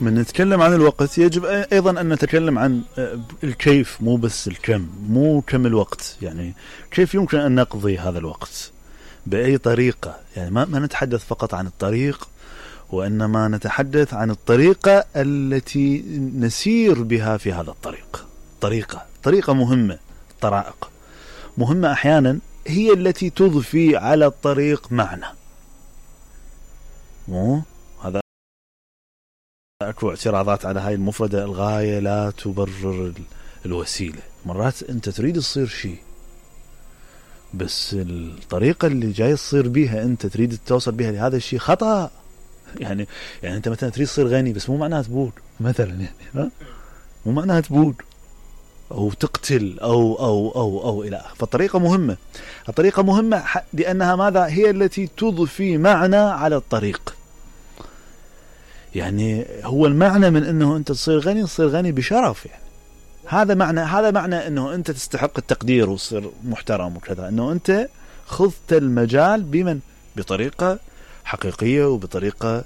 من نتكلم عن الوقت يجب أيضا أن نتكلم عن الكيف، مو بس الكم، مو كم الوقت، يعني كيف يمكن أن نقضي هذا الوقت بأي طريقة. يعني ما نتحدث فقط عن الطريق، وإنما نتحدث عن الطريقة التي نسير بها في هذا الطريق. طريقة مهمة، طرائق مهمة أحيانا هي التي تضفي على الطريق معنى. مو هذا أكو اعتراضات على هاي المفردة، الغاية لا تبرر الوسيلة. مرات أنت تريد تصير شيء، بس الطريقة اللي جاي تصير بيها أنت تريد توصل بيها لهذا الشيء خطأ. يعني أنت مثلا تريد تصير غني، بس مو معناها تبود مثلا، يعني مو معناها تبود أو تقتل أو إلى آخره. فالطريقة مهمة، الطريقة مهمة لأنها ماذا؟ هي التي تضفي معنى على الطريق. يعني هو المعنى من أنه أنت تصير غني بشرف، يعني هذا معنى أنه أنت تستحق التقدير وتصير محترم وكذا، أنه أنت خذت المجال بطريقة حقيقية، وبطريقة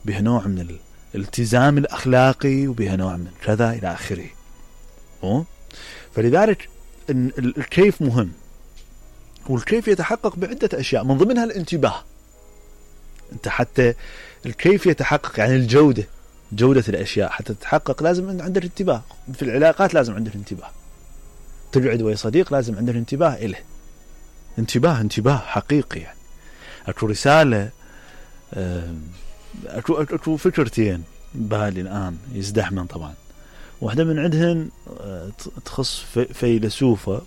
بها نوع من الالتزام الأخلاقي، وبها نوع من كذا إلى آخره. فلذلك الكيف مهم، والكيف يتحقق بعدة أشياء من ضمنها الانتباه. أنت حتى الكيف يتحقق، يعني جودة الأشياء حتى تتحقق لازم عندك انتباه. في العلاقات لازم عندك انتباه، تقعد ويا صديق لازم عندك انتباه إله، انتباه حقيقي. يعني أكو رسالة، أكو فكرتين بالي الآن يزدحمن طبعا. واحدة من عندهن تخص فيلسوفة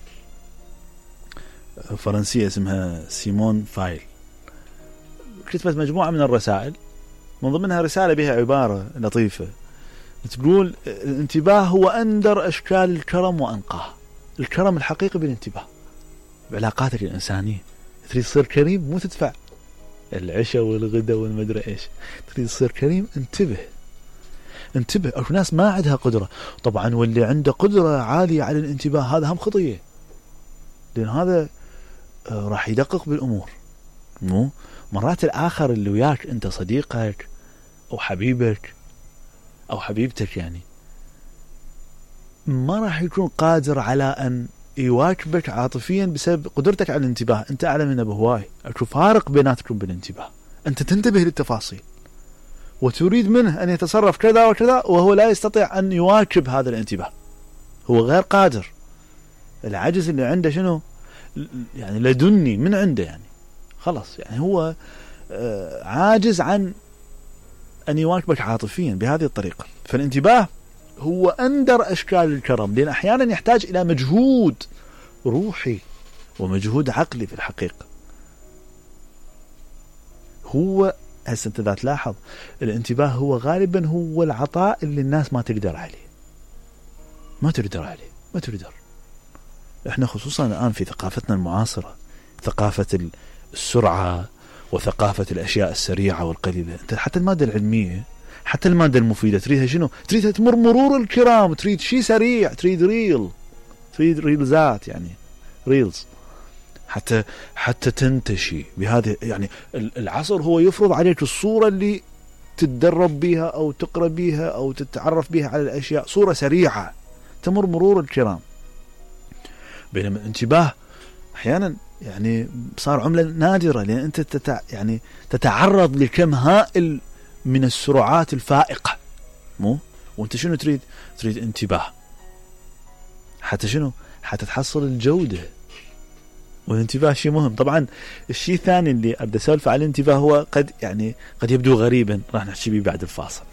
فرنسية اسمها سيمون فايل، كتبت مجموعة من الرسائل، من ضمنها رسالة بها عبارة لطيفة تقول: الانتباه هو أندر أشكال الكرم وأنقاه. الكرم الحقيقي بالانتباه بعلاقاتك الإنسانية. تريد تصير كريم، مو تدفع العشاء والغداء والمدري إيش، تريد تصير كريم انتبه. أو ناس ما عندها قدرة طبعا، واللي عنده قدرة عالية على الانتباه هذا هم خطية، لأن هذا راح يدقق بالأمور. مو مرات الآخر اللي وياك أنت صديقك أو حبيبك أو حبيبتك، يعني ما راح يكون قادر على أن يواكبك عاطفيا بسبب قدرتك على الانتباه. أنت أعلى منه بهواي، أكو فارق بيناتكم بالانتباه. أنت تنتبه للتفاصيل وتريد منه أن يتصرف كذا وكذا، وهو لا يستطيع أن يواكب هذا الانتباه، هو غير قادر. العجز اللي عنده شنو؟ يعني لدني من عنده، يعني خلاص، يعني هو عاجز عن أن يواكبك عاطفيا بهذه الطريقة. فالانتباه هو أندر أشكال الكرم، لأن أحيانا يحتاج إلى مجهود روحي ومجهود عقلي في الحقيقة. هو هسه أنت ذا تلاحظ الانتباه هو غالبا هو العطاء اللي الناس ما تقدر عليه، ما تقدر. احنا خصوصا الآن في ثقافتنا المعاصرة، ثقافة السرعة وثقافة الأشياء السريعة والقليلة. انت حتى المادة العلمية، حتى المادة المفيدة تريدها شنو؟ تريدها تمر مرور الكرام، تريد شيء سريع، تريد ريلزات، يعني ريلز حتى تنتشي بهذه. يعني العصر هو يفرض عليك الصورة اللي تتدرب بها أو تقرأ بها أو تتعرف بها على الأشياء، صورة سريعة تمر مرور الكرام. بينما الانتباه أحيانا يعني صار عملة نادرة، لأن أنت يعني تتعرض لكم هائل من السرعات الفائقة. مو وأنت شنو تريد انتباه، حتى شنو؟ حتى تحصل الجودة. والانتباه شيء مهم. طبعا الشيء الثاني اللي أبدأ أسولف على الانتباه هو قد يبدو غريبا، راح نحكي به بعد الفاصل.